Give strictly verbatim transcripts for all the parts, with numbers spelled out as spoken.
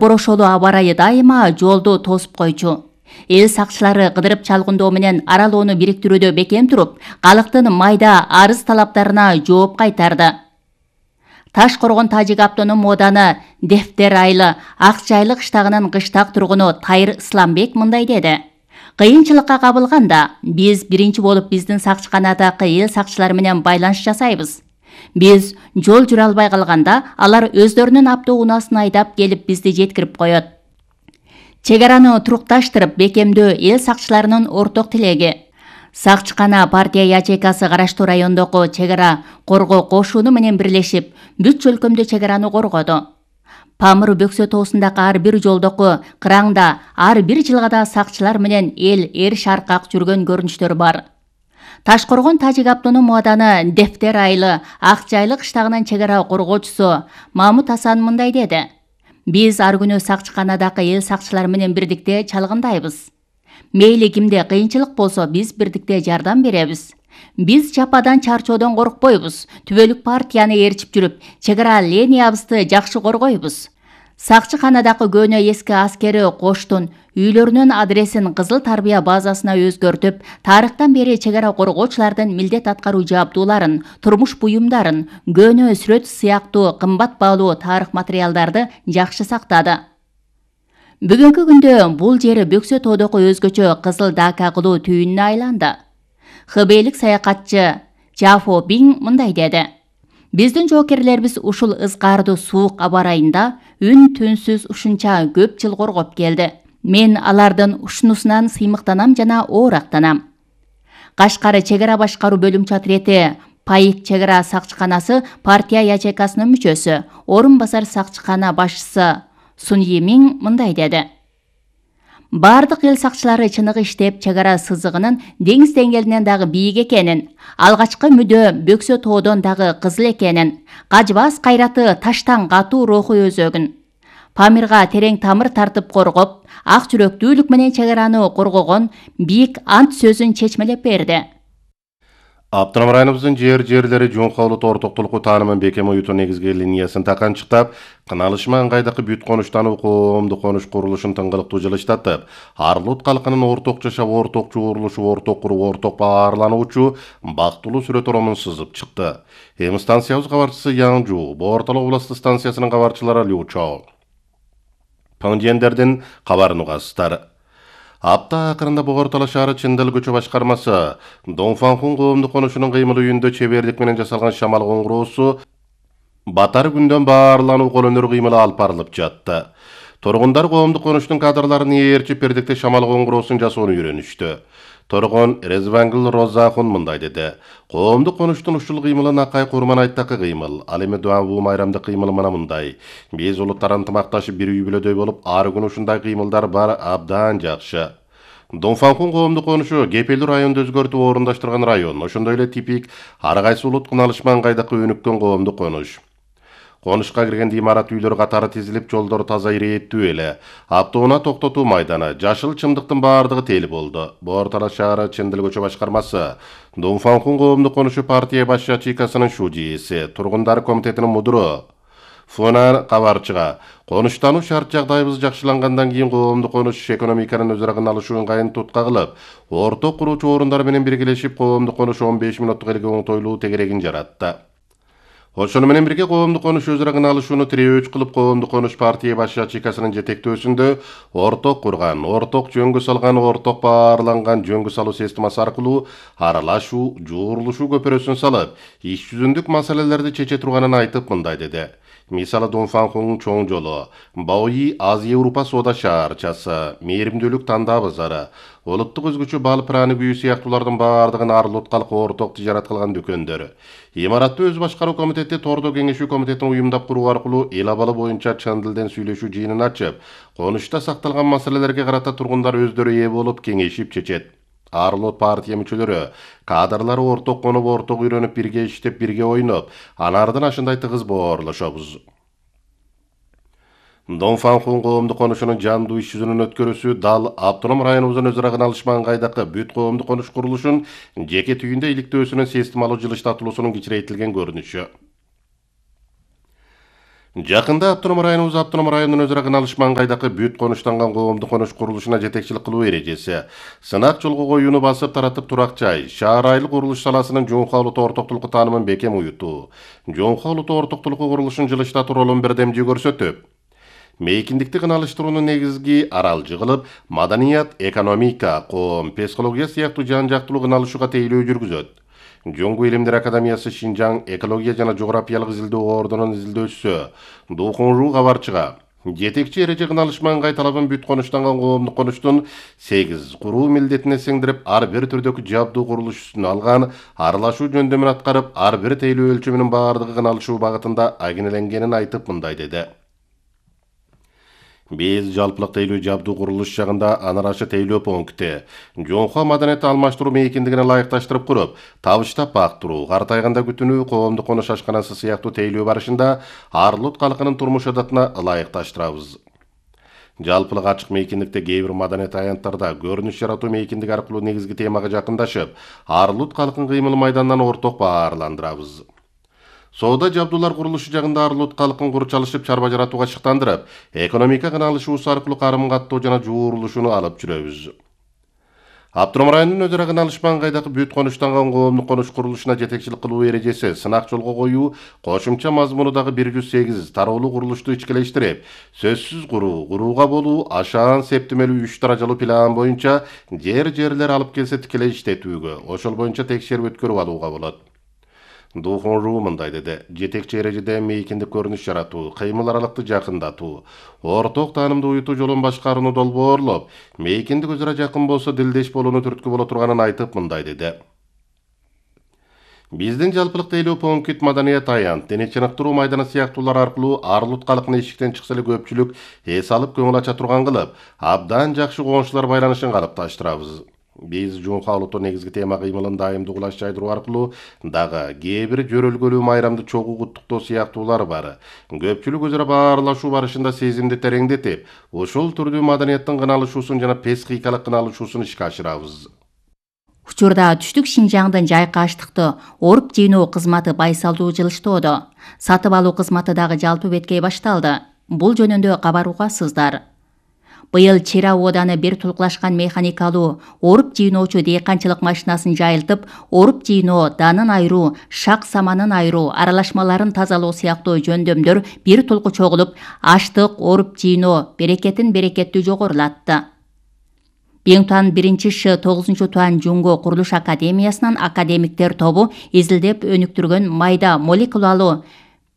Борошолу аба ырайы дайыма жолду тосуп койчу. Эл сакчылары кыдырып чалгындоо менен аралоону бириктирүүдө бекем туруп, калктын майда арыз талаптарына жооп кайтарды. Таш коргон Тажик автоном ооданы Дефтер айылы Акчайлы кыштагынын кыштак тургуну Тайыр Исламбек мындай деди. Кыйынчылыкка кабылганда биз биринчи болуп биздин сакчыканадагы эл сакчылары менен байланыш жасайбыз. Биз жол жүрө албай калганда алар өздөрүнүн автоунаасын айдап келип бизди жеткирип коет. Чек араны турукташтырып бекемдөө эл сакчыларынын орток тилеги. Сакчыкана партия ячейкасы караштуу райондогу чек ара коргоо кошуну менен бирлешип, бүт өлкөмдө чек араны коргоду. Памыр Бөксө тоосундагы ар бир жолдогу кыраңда ар бир жылгада сакчылар менен эл эр шаркак жүргөн көрүнүштөр бар. Ташкоргон Тажик автоном ооданы Дефтер айылы Акчайлы кыштагынын чек ара коргоочусу Мамут Асан мындай деди. Биз ар күнү сакчыканадагы эл сакчылар менен бирдикте чалгындайбыз. Мейли кимде кыйынчылык болсо биз бирдикте жардам беребиз. Биз жападан чарчоодон коркпойбуз. Түбөлүк партияны ээрчип жүрүп, чек ара линиябызды жакшы коргойбуз. Сакчыканадагы көөнө эски аскери коштун үйлөрүнүн адресин Кызыл Тарбия базасына өзгөртүп, тарыхтан бери чек ара коргоочулардын милдет аткаруу жабдууларын, турмуш буюмдарын, көөнө сүрөт сыяктуу кымбат баалуу тарых материалдарды жакшы сактады. Бүгүнкү күндө бул жери Бөксө тоодогу өзгөчө Кызыл Дака кылуу түйүнүнө айланды. Хбейлик саякатчы Жафо Биң мындай деди. Биздин жоокерлерибиз ушул ызгаардуу суук аба ырайында үн түнсүз ушунча көп жыл коргоп келди. Мен алардын ушунусунан сыймыктанам жана оорактанам. Кашкары чек ара башкаруу бөлүмчө отрети Пайык чек ара сакчыканасы партия ячейкасынын мүчөсү, орун басар сакчыкана башчысы Сун Йимиң мындай деди. Бардык эл сакчылары чыныгы иштеп, чек ара сызыгынын деңиз деңгээлинен дагы бийик экенин, алгачкы мүдө Бөксө тоодон дагы кызыл экенин, кажбас кайраты таштан катуу руху өзөгүн. Памирга терең тамыр тартып коргоп, ак жүрөктүүлүк менен чек араны коргогон бийик ант сөзүн чечмелеп берди. Автоном районубуздун жер-жерлери жоңколут ортоктулукку таанымын бекем оюуту негизги линиясын таканчыктап, кыналышма ыңгайдагы бүт конуштануу коомдук конуш курулушун тыңгылыктуу жылыштатып, Арлут калкынын орток жашап, орток чогурулушу, орток куруу, орток баарлануучу бактылуу сүрөт оромун сызып чыкты. Эми станциябыз кабарчысы Яңжу, Боортал областык станциясынын кабарчылары Лю Чо Паңдиендердин кабарын угасыздар. Апта акырында Боортал шаары Чындыл көчө башкармасы Донфанхун коомдук конушунун кыймыл үйүндө чебердик менен жасалган шамал коңгуроосу батар күндөн баарлануу кол өнөр кыймылы алып барылып жатты. Тургундар коомдук конуштун кадрларын ээрчип бердикте шамал коңгуроосун жасоону үйрөнүштү. Торгон Резвангыл Розахун мындай деди. Коомдук конуштун ушул кыймылы Накай Курман айттакы кыймыл. Ал эми Дуанбу майрамдык кыймыл мына мындай. Биз улуттар ынтымакташып бир үй бүлөдөй болуп, ар күнү ушундай кыймылдар бар, абдан жакшы. Донфанхун коомдук конушу кепелдүү районду өзгөртүп орундаштырган район. Ошондой эле типик ар кайсы улут кыналышма ыңгайдакы өнүккөн коомдук конуш. Конушка кирген имарат үйлөр катары тизилип, жолдор таза ирээттүү эле. Автоунаа токтотуу майданы, жашыл чымдыктын баардыгы тел болду. Боортал шаары Чындыл көчө башкармасы Донфанхун коомдук конушу партия баш ячейкасынын шужиеси, тургундар комитетинин мудуру Фунар кабарчыга конуштануу шарт жагдайыбыз жакшылангандан кийин коомдук конуш экономиканын өз арагын алышуу ыңгайын тутка кылып, орток куруучу орундар менен биргелешип коомдук конуш он беш мүнөттук элге оңтойлуу тегерегин жаратты. Ошону менен бирге коомдук конуш өз арагын алышууну тирөөч кылып, коомдук конуш партия баш ячейкасынын жетектөөсүндө орток курган, орток жөнгө салган, орток баарланган жөнгө салуу системасы аркылуу аралашуу, жуурулушуу көпүрөсүн салып, иш жүзүндүк маселелерди чече турганын айтып мындай деди. Мисалы Донфанхун чоң жолу, Баои Азия Европа соода шаарчасы, мээримдүүлүк тандаа базары, улуттук өзгөчө бал праны күйүү сыяктуулардын баардыгын Арлут калкы орток тижарат кылган дүкөндөр. Имаратты өз башкаруу комитети Тордо кеңешүү комитетин уюмдап куруу аркылуу эл абалы боюнча Чындылдын сүйлөшүү жыйынын ачып, конушта сакталган маселелерге карата тургундар өздөрү ээ болуп кеңешип чечет. Арлут партия мүчөлөрү, кадрлары орток конуп, орток үйрөнүп, бирге иштеп, бирге ойноп, анардын ашындай тыгыз боорлошобуз. Донфанхун коомдук конушунун жандуу иш жүзүнүн өткөрүүсү дал автоном районубуздун өз арагын алышма ыңгайдакы бүт коомдук конуш курулушун жеке түйүндө иликтөөсүнүн системалуу жылыштатылуусунун кичирейтилген көрүнүшү. Жакында автоном районубуз автоном районунун өз ара кыналыш маңгайдагы бүт конуштанган коомдук конуш курулушуна жетекчилик кылуу эрежеси, сынак жолго коюуну басып таратып турак жай, шаар айыл курулуш саласынын Жоңхо олуттуу ортоктулуку таанымын бекем уютуу, Жоңхо олуттуу ортоктулуку курулушун жылыштатуу ролун бирдемдүү көрсөтүп, мейкиндикти кыналыштыруунун негизги аралжы кылып, маданият, экономика, коом, психология сыяктуу жан жактылуу кыналышууга тейлөө жүргүзөт. Жоңгу илимдер академиясы Шинжаң экология жана жографиялык изилдөө ордунун изилдөөчүсү Духунру кабарчыга жетекчи эреже кыналыш маңгай талабын бүт конуштанган коомдук конуштун сегиз куруу милдетине сиңдирип, ар бир түрдөгү жабдуу курулуш үстүнө алган, аралашуу жөндөмүн аткарып, ар бир тейлөө өлчөмүнүн баардыгы кыналышуу багытында агинеленгенин айтып мындай деди. Биз жалпылык тейлөө жабдуу курулуш жагында анарашы тейлөө пункти, Жоңхо маданиятты алмаштыруу мейкиндигине ылайыкташтырып куруп, табыштап бактыруу, картайганда күтүнүү, коомдук конуш ашканасы сыяктуу тейлөө барышында Арлут калкынын турмуш адатына ылайыкташтырабыз. Жалпылык ачык мейкиндикте кээ бир маданият аянттарда көрүнүш жаратуу мейкиндик аркылуу негизги темага жакындашып, Арлут калкын кыймыл майданынан орток баарландырабыз. Соода жабдуулар курулушу жагында Арлут калкын курчалышып чарба жаратууга шыктандырып, экономика кыналышуусу аркылуу карым каттоо жана жуурулушууну алып жүрөбүз. Автоном районунун өз ара кыналыш маңгайдагы бүт конуштанган коомдук конуш курулушуна жетекчилик кылуу эрежеси сынак жолго коюу кошумча мазмуну дагы бир жүз сегиз тароолуу курулушту ичкелештирип, сөзсүз куруу, курууга болуу, ашаан септемелүү үч даражалуу план боюнча жер-жерлер алып келсе тикелей иштетүүгө, ошол боюнча текшерип өткөрүп алууга болот. Духунру мындай деди. Жетекчи эрежеде мейкиндик көрүнүш жаратуу, кыймыл аралыкты жакындатуу, орток таанымды уютуу жолун башкарууну долбоорлоп, мейкиндик өз ара жакын болсо дилдеш болууну түрткү боло турганын айтып мындай деди. Биздин жалпылык тейлөө пункт маданият аянт, дене чыныктыруу майданы сыяктуулар аркылуу Арлут калкына эшиктен чыкса эле көпчүлүк эс алып көңүл ача турган кылып, абдан жакшы коңшулар байланышын калыпташтырабыз. Биз Жоңхо олуттуу негизги тема кыймылын дайымдуу кулаш жайдыруу аркылуу дагы кээ бир жөрөлгөлүү майрамды чогуу куттуктоо сыяктуулар бар. Көпчүлүк өз ара баарлашуу барышында сезимди тереңдетип, ушул түрдүү маданияттын кыналышуусун жана психикалык кыналышуусун ишке ашырабыз. Учурда түштүк Шинжаңдын жайкы аштыкты оруп жыйноо кызматы байсалдуу жылыштоодо. Сатып алуу кызматы дагы жалпы беткей башталды. Бул жөнүндө кабар угасыздар. Быйыл Чера ооданы бир тулкулашкан механикалуу оруп жыйноочу дыйканчылык машинасын жайылтып, оруп жыйноо, данын айыруу, шак саманын айыруу, аралашмаларын тазалоо сыяктуу жөндөмдөр бир тулку чогулуп, аштык, оруп жыйноо берекетин берекеттүү жогорулатты. Беңтуан биринчи Ш тогузунчу туан Жунго курулуш академиясынын академиктер тобу изилдеп өнүктүргөн майда молекулалуу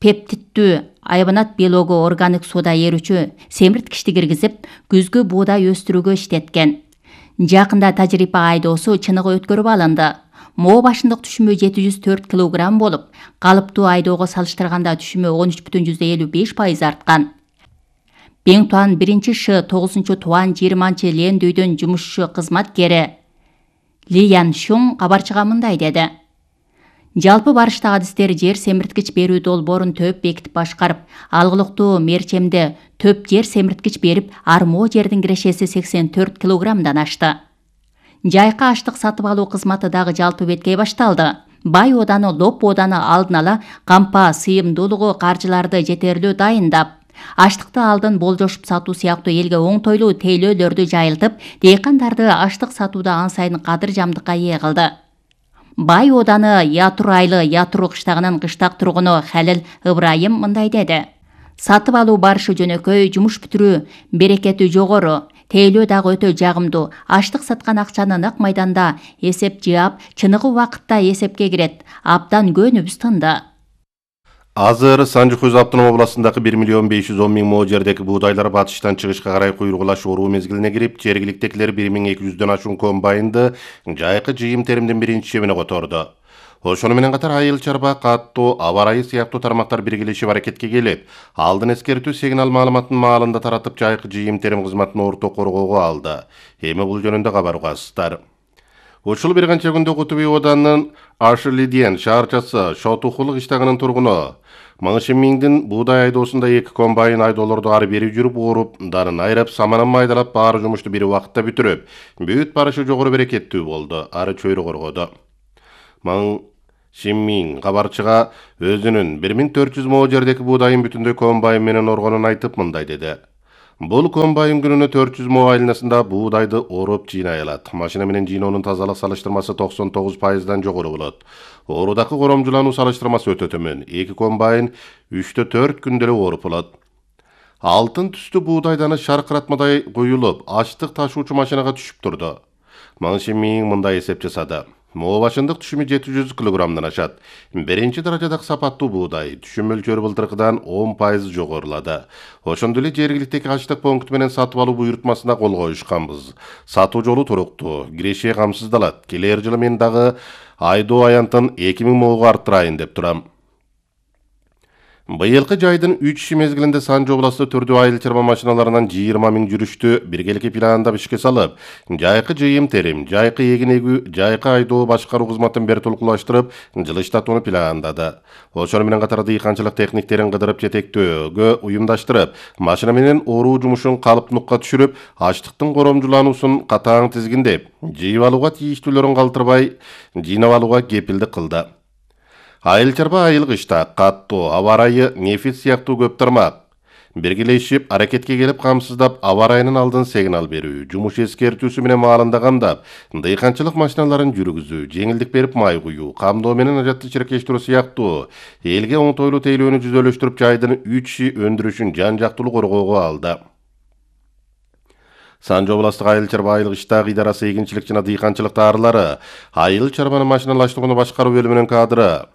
пептиддүү айбанат белогу органик сууда эрүүчү семирткичти киргизип, күзгү буудай өстүрүүгө иштеткен. Жакында тажрыйба айдоосу чыныгы өткөрүп алынды. Мо башындык түшүмү жети жүз төрт килограмм болуп, калыптуу айдоого салыштырганда түшүмү он үч бүтүн жүздөй элүү беш пайыз арткан. Беңтуан биринчи Ш тогузунчу туан жыйырманчы Лендүйдүн жумушчу кызматкери Ли Ян Шуң кабарчыга мындай деди. Жалпы барыштагы адистер жер семирткич берүү долбоорун төп бекитип башкарып, алгылыктуу мерчемде төп жер семирткич берип, армоо жердин кирешеси сексен төрт килограммдан ашты. Жайкы аштык сатып алуу кызматы дагы жалпы беткей башталды. Бай ооданы, Лоп ооданы алдын ала кампа сыйымдуулугу каржыларды жетерлүү дайындап, аштыкты алдын болжошуп сатуу сыяктуу элге оңтойлуу тейлөөлөрдү жайылтып, дыйкандарды аштык сатууда ан сайын кадыр жамдыкка ээ кылды. Бай ооданы Ятур айлы Ятур кыштагынын кыштак тургуну Халил Ыбрайым мындай деди. Сатып алуу барышы жөнөкөй, жумуш бүтүрүү берекети жогору, тейлөө дагы өтө жагымдуу. Аштык саткан акчаны нак майданда эсеп жаап, чыныгы убакытта эсепке кирет. Абдан көөнүбүз тынды. Азыр Санжы-Көз автоном областындагы бир миллион беш жүз он миң мо жердеги буудайлар батыштан чыгышка карай куйругулаш оруу мезгилине кирип, жергиликтегилер бир миң эки жүздөн ашуун комбайнды жайкы жыйым теримдин биринчи чебине которду. Ошону менен катар айыл чарба, каттоо, аба ырайы сыяктуу тармактар биргелешип аракетке келип, алдын эскертүү сигнал маалыматын маалында таратып жайкы жыйым терим кызматын орток коргоого алды. Эми бул жөнүндө кабар угасыздар. Ушул бир канча күндө Кутуби оодунун Ашылиден шаарчасы Шотухулук иштагынын тургуну Мыңшын миңдин буудай айдоосунда эки комбайн айдоолорду ары бери жүрүп ооруп, данын айрап, саманын майдалап, баары жумушту бир убакытта бүтүрүп, бүт барышы жогору берекеттүү болду, ары чөйрө коргоду. Маң Шинмин кабарчыга өзүнүн бир миң төрт жүз мо жердеки буудайын бүтүндөй комбайн менен оргонун айтып мындай деди. Бул комбайн күнүнө төрт жүз мо айланасында буудайды оруп жыйнай алат. Машина менен жыйноонун тазалык салыштырмасы токсон тогуз пайыздан жогору болот. Оорудагы коромжулануу салыштырмасы өтө төмөн. Эки комбайн үчтө төрт күндө эле ооруп болот. Алтын түстүү буудайданы шаркыратмадай куюлуп, ачтык ташуучу машинага түшүп турду. Шинмин мындай эсеп жасады. Мо башындык түшүмү жети жүз килограммдан ашат. Биринчи даражадагы сапаттуу буудай түшүм мөлчөрү былтыркыдан он пайыз жогорулады. Ошондой эле жергиликтеги ачтык пункту менен сатып алуу буйрутмасына кол коюшканбыз. Сатуу жолу туруктуу, киреше камсыздалат. Келер жылы мен дагы айдоо аянтын эки миң моого арттырайын деп турам. Быйылкы жайдын үч мезгилинде Санжы областı түрдүү айыл чарба машиналарынан жыйырма миң жүрүштү биргеликке пландап ишке салып, жайкы жыйым терим, жайкы эгин эгүү, жайкы айдоо башкаруу кызматын бир толкулаштырып, жылыштатууну пландады. Ошону менен катар дыйканчылык техниктерин кыдырып жетектөөгө уюмдаштырып, машина менен оруу жумушун калыптуулукка түшүрүп, ачтыктын коромжулануусун катаң тизгиндеп, жыйып алууга тийиштүүлөрүн калтырбай, жыйнап алууга кепилдик кылды. Айыл чарба айыл кышта каттуу, аба ырайы, нефис сыяктуу көп тармак биргелешип аракетке келип камсыздап, аба ырайынын алдын сигнал берүү, жумуш эскертүүсү менен маалында камдап, дыйканчылык машиналарын жүргүзүү, жеңилдик берип май куюу, камдоо менен ажатты чиркештирүү сыяктуу элге оңтойлуу тейлөөнү жүзөлөштүрүп жайдын үч өндүрүшүн жан-жактуулуу коргоого алды. Санжы областык айыл чарба айыл кышта ыйдарасы эгинчилик жана дыйканчылык таарылары, айыл чарбаны машиналаштырууну башкаруу бөлүмүнүн кадры.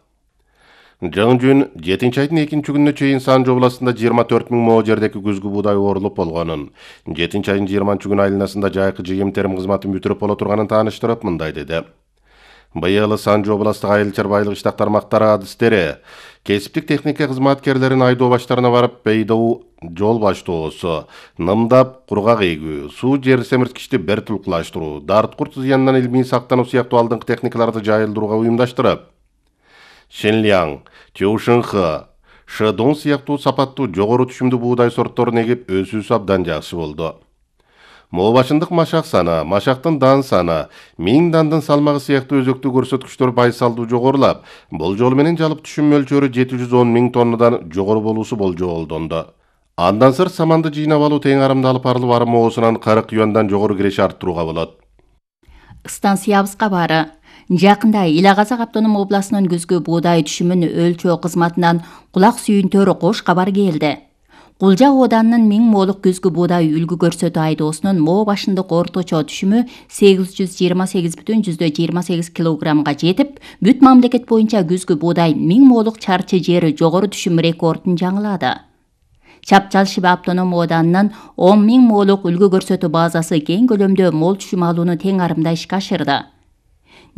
Жөн жетинчи айдын экинчи күнүнө чейин Санжы областында жыйырма төрт миң мо жердеки күзгү буудай оорулуп болгонун, жетинчи айдын жыйырманчы күнү айланасында жайкы жыйым терим кызматын бүтүрүп боло турганын тааныштырып мындай деди. Быйыл Санжы областык айыл чарба айыл кыштак тармактары адистери, кесиптик техника кызматкерлерин айдоо баштарына барып бейдоо жол баштоосу, нымдап кургак эгүү, суу жер семирткичти бер тулкулаштыруу, дарткурт зыянынан илмий сактануу сыяктуу алдыңкы техникаларды жайылдырууга уюмдаштырып, Шинляң, Тюшинхы, Шыдун сыяктуу сапаттуу жогору түшүмдүү буудай сортторун эгип өсүүсү абдан жакшы болду. Мо башындык машак саны, машактын дан саны, миң дандын салмагы сыяктуу өзөктүү көрсөткүчтөр байсалдуу жогорулап, бул жол менен жалпы түшүм мөлчөрү жети жүз он миң тоннадан жогору болуусу болжолдонду. Андан сырт саманды жыйнап алуу тең арымда алып барылып арым моосунан кырк юандан жогору киреше арттырууга болот. Станциябыз кабары. Жакында Ил Казак автоном областынын күзгү буудай түшүмүн өлчөө кызматынан кулак сүйүнтөр кош кабар келди. Кулжа оданынын миң молук күзгү буудай үлгү көрсөтүү айдоосунун мо башындык орточо түшүмү сегиз жүз жыйырма сегиз бүтүн жүздө жыйырма сегиз килограммга жетип, бүт мамлекет боюнча күзгү буудай миң молук чарчы жери жогору түшүм рекордун жаңылады. Чапчал Шиба автоном оданынын он миң молук үлгү көрсөтүү базасы кең көлөмдө мол түшүм алууну тең арымда ишке ашырды.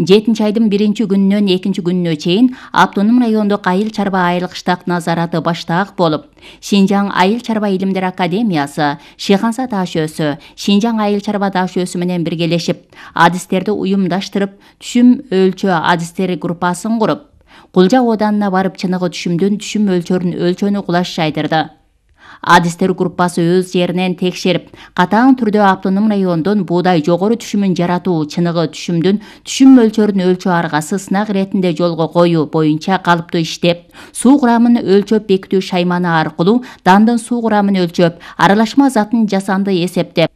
жетинчи айдын биринчи күнүнөн экинчи күнүнө чейин автоном райондук айыл чарба айыл кыштак назараты баштаак болуп, Шинжаң айыл чарба илимдер академиясы, Шиханса таш өсү, Шинжаң айыл чарба таш өсү менен биргелешип, адистерди уюмдаштырып, түшүм өлчөө адистери группасын куруп, Кулжа оданына барып чыныгы түшүмдүн түшүм өлчөрүн өлчөнү кулаш жайдырды. Адистер группасы өз жеринен текшерип, катаң түрдө автоном райондон буудай жогору түшүмүн жаратуу, чыныгы түшүмдүн түшүм мөлчөрүн өлчөө аргасы сынак иретинде жолго коюу боюнча калыптуу иштеп, суу курамын өлчөп бекитүү шайманы аркылуу дандын суу курамын өлчөп, аралашма затын жасанды эсептеп,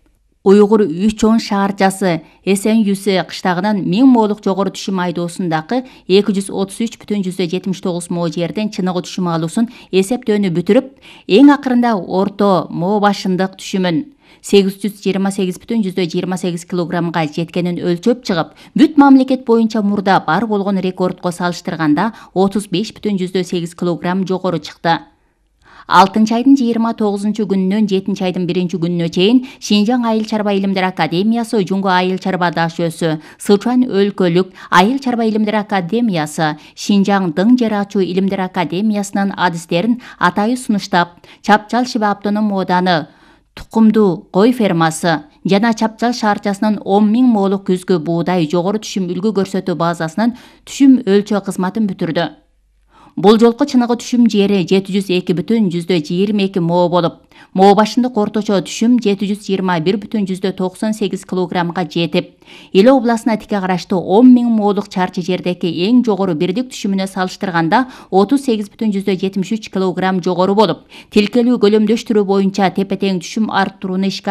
Уйгур үч он шаарчасы Эсен Юсе кыштагынан миң молук жогору түшүм айдоосундагы эки жүз отуз үч бүтүн жүздө жетимиш тогуз мо жерден чыныгы түшүм алуусун эсептөөнү бүтүрүп, эң акырында орто мо башындык түшүмүн сегиз жүз жыйырма сегиз бүтүн жүздө жыйырма сегиз килограммга жеткенин өлчөп чыгып, бүт мамлекет боюнча мурда бар болгон рекордко салыштырганда отуз беш бүтүн жүздө сегиз килограмм жогору чыкты. алтынчы айдын жыйырма тогузунчу күнүнөн жетинчи айдын биринчи күнүнө чейин Шинжаң айыл чарба илимдер академиясы, Жуңго айыл чарба таш өсү, Сычуан өлкөлүк айыл чарба илимдер академиясы, Шинжаң дың жер ачуу илимдер академиясынын адистерин атайы сунуштап, Чапчал Шиба автоном ооданы тукумдуу кой фермасы жана Чапчал шаарчасынын он миң молук күзгү буудай жогору түшүм үлгү көрсөтүү базасынын түшүм өлчөө кызматын бүтүрдү. Бул жолку чыныгы түшүм жери жети жүз эки бүтүн жүздө жыйырма эки мо болуп, мо башындык орточо түшүм жети жүз жыйырма бир бүтүн жүздө токсон сегиз килограммга жетип, Ил областына тике караштуу он миң молук чарчы жердеки эң жогору бирдик түшүмүнө салыштырганда отуз сегиз бүтүн жүздө жетимиш үч килограмм жогору болуп, тилкелүү көлөмдөштүрүү боюнча тепе-тең түшүм арттырууну ишке